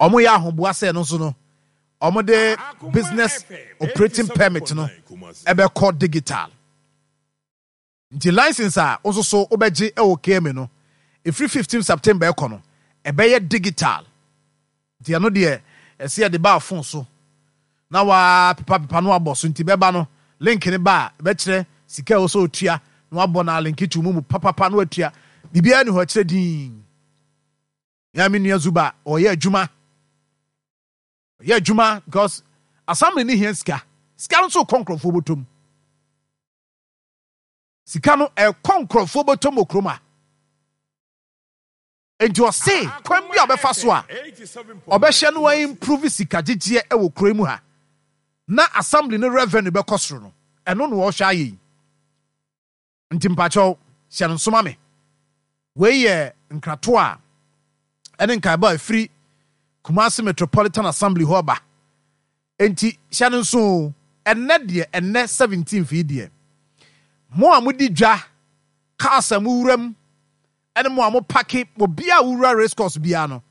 Wɔyɛ ahoboa sɛ ɛno nso no, wɔde business operating permit no ɛbɛkɔ digital. Nti license a wo nso so wobɛgye wɔ KMA no, ɛfiri 15 September ɛkɔ no, ɛbɛyɛ digital. Nti ɛno deɛ ɛsɛ yɛde ba phone so na waa pepa pepa no abɔ so nti bɛba no link no ba a ɛbɛkyerɛ sika a ɛwɔ sɛ otua na wabɔ na link to mu mu papapa na watua. Biribiara ni hɔ ɛkyerɛ din. Yɛn me nua Zuba ɔyɛ adwuma. Ɔyɛ adwuma because assembly ne hia sika. Sika no nso kɔ nkurɔfoɔ bɔtɔm. Sika no ɛkɔ nkurɔfoɔ bɔtɔm wɔ kurom a. Enti ɔse kwan bi a ɔbɛfa so a ɔbɛhyɛ no a improve sika gyegyeɛ wɔ kuro yi mu ha na assembly no revenue bɛkɔ soro no, ɛno na ɔrehwɛ ayɛ yi. Nti mpakyɛw hyɛ no nso ma me. Wei yɛ nkratoɔ a ɛne nkaebɔ a ɛfiri Kumasi Metropolitan Assembly hɔ ba. Enti hyɛ no nso o, ɛnnɛ deɛ, ɛnnɛ 17th yi deɛ, mo a modi dwa, cars a mowura mu, ɛne mo a mopake, obiara a wowura race course biara no,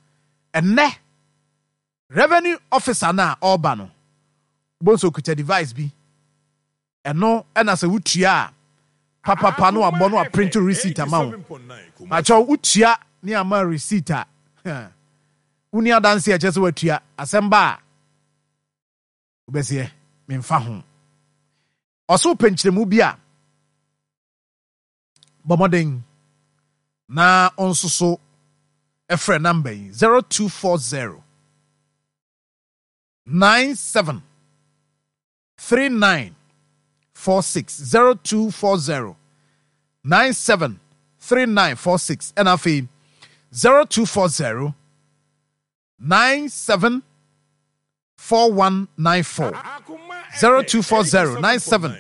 ɛnnɛ revenue officer no a ɔreba no, wobɛhu sɛ ɔkuta device bi. Ɛno na sɛ wotua a, papapa na wabɔ na waprint receipt ama wo. Pakyɛw, wotua ne ama receipt a, wonni adanse a ɛkyerɛ sɛ woatua. Asɛm ba a, wobɛseɛ, memfa ho. Ɔse wopɛ nkyerɛmu bi a, bɔ mmɔden na wo nso so frɛ number yi, 0240 97 39 46 0240 97 39 46 ɛna afei 0240 97 4194 0240 97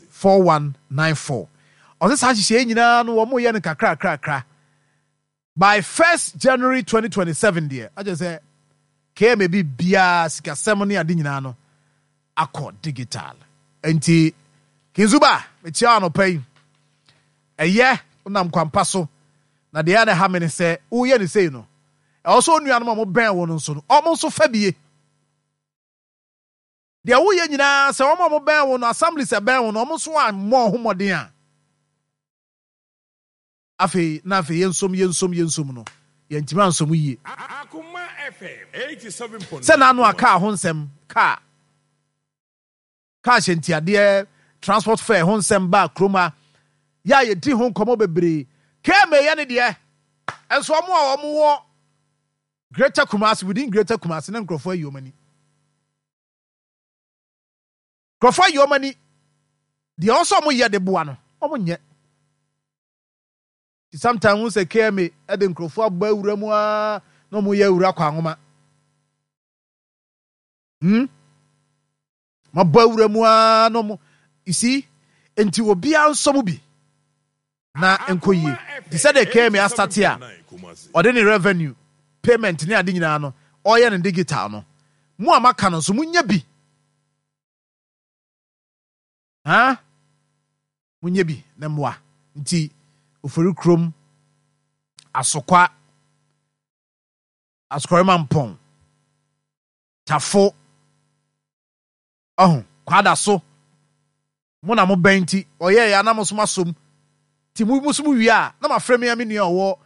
4194. Ɔsɛ saa nhyehyɛe nyinaa no wɔn yɛ no kakrakrakra. By first January 2027 deɛ, akyerɛ sɛ KMA biribiara, sikasɛm ne ade nyinaa no akɔ digital. Enti Kinzuba, mekyia wo anɔpa yi. Ɛyɛ, wonam kwampa so. Na deɛ ɛyɛ na ɛha me ne sɛ, woyɛ no sei no, ɛwɔ sɛ onuanom a wɔbɛn wo no nso no, wɔn nso fa bie. Deɛ woyɛ nyinaa, sɛ wɔn a wɔbɛn wo no, assemblies ɛbɛn wo no, wɔn nso ammɔ ho mmɔden a, Afei na afei yɛnsom yɛnsom yɛnsom no, yɛntumi ansom yie. Sɛ n'ano a kaa ho nsɛm, kaa, kaa hyɛntiadeɛ, transport fare ho nsɛm baa kurom ha, yɛ a yɛdi ho nkɔmmɔ bebree. KMA yɛ ne deɛ, nso wɔn a wɔwɔ Greater Kumasi, within Greater Kumasi, na nkurɔfoɔ ayi wɔn ani. Nkurɔfoɔ ayi wɔn ani. Deɛ ɔwɔ sɛ wɔyɛ de boa no, wɔnyɛ. Nti sometimes wohu sɛ KMA de nkurɔfoɔ abɔ awura mu ara na wɔyɛ awura kɔ anwoma. Hmm? Mabɔ awura mu ara na wɔn, you see? Nti obiara nsɔ mu bi na nkɔ yie. Nti sɛdeɛ KMA astate a ɔde ne revenue, payment ne ade nyinaa no, ɔreyɛ no digital no, mo a moaka no nso monyɛ bi. Huh? Monyɛ bi na mmoa. Nti Ofori kurom, Asokwa, Asokɔrema Mpɔn, Tafo, ɔho, Kwadaso, mo na mobɛn nti ɔyɛeɛ a na mo nso moasom. Nti mo nso mowie a na mafrɛ me ara me nua a ɔwɔ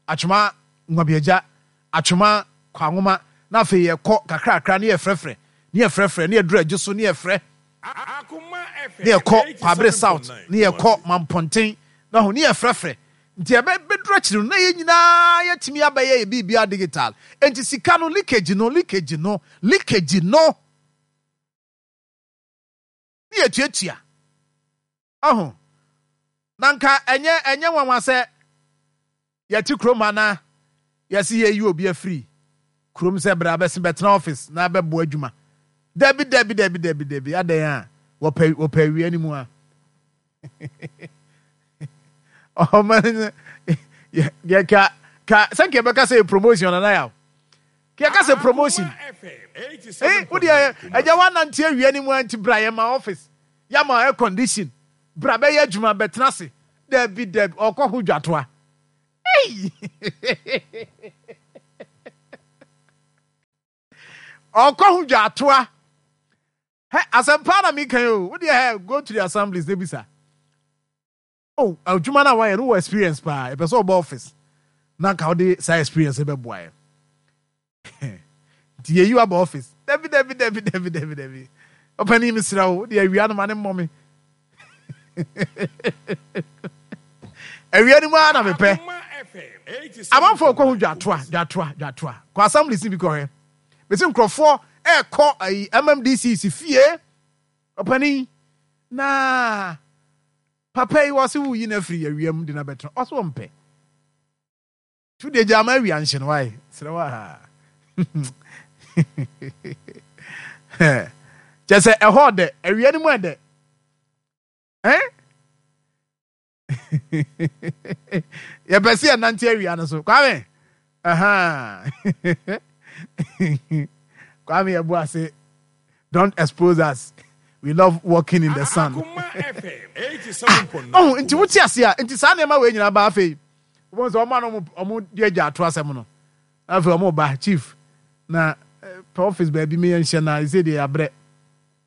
Atwoma Nwabiagya, Atwoma Kwanwoma, na afei yɛkɔ kakrakra ne yɛfrɛfrɛ, ne yɛfrɛfrɛ, ne yɛduru Adwo so ne yɛfrɛ, ne yɛkɔ Kwabere South, ne yɛkɔ Mampɔnten, na ho ne yɛfrɛfrɛ. Nti ɛbɛduru akyiri no na yɛn nyinaa yɛatumi abɛyɛ yɛ biribiara digital. Nti sika no leakage no, leakage no, leakage no. Ne yɛtuatua. Ɔho, na nka ɛnyɛ ɛnyɛ nwanwa sɛ yɛte kurom ha na yɛse yɛyi obi afiri kurom sɛ bra bɛse bɛtena office na bɛboa adwuma. Dabi dabi dabi dabi dabi, adɛn a wɔpɛ wɔpɛ awia no mu a. Ɔma no yɛ ka ka sɛ nka yɛbɛka sɛ promotion nana yaw. Yɛka sɛ promotion. Eh, wo deɛ ɛgya woanante awia no mu a nti bra yɛma office. Yɛama air condition. Bra bɛyɛ adwuma, bɛtena ase. Dabi, dabi, ɔkɔ ho dwatoa. Ei! Ɔkɔ ho dwatoa. Hɛ, asɛmpa na meka yi o. Wo deɛ hɛ, go to the assemblies na bisa. Oh, adwuma no a wayɛ no wɔ experience paa. Yɛpɛ sɛ ɔba office na nka wode saa experience no bɛboa yɛn. Nti yɛyi wo aba office. Dabi, dabi, dabi, dabi, dabi, dabi. Ɔpanin mesrɛ wo, wode awia no ma ne mmɔ me. Awia no mu ara na mepɛ. Amanfoɔ kɔ ho dwatoa, dwatoa, dwatoa. Kɔ assemblies no bi kɔhwɛ. Mesi nkurɔfoɔ ɛrekɔ ayi MMDCs fie. Ɔpanin, na papa yi wɔse woyi no afiri awia mu de no abɛtena. Ɔse ɔmpɛ. Tu deɛ gyaa ma awia nhye no wae. Serɛ wo aa. Kyɛ sɛ ɛhɔ ɔdɛ, awia no mu ɛdɛ. Eh? Yɛpɛ sɛ yɛnante awia no so. Kwame! Aha. Kwame yɛbo ase. Don't expose us. We love walking in the sun. Ah, oh, nti wote ase a, nti saa nneɛma wei nyinaa ba afei. Wobɛhu sɛ wɔn a na wɔn de agya ato asɛm no, afei wɔn ba chief na eh, pɛ office baabi meyɛ nhyɛ na ɛsɛ deɛ yɛabrɛ.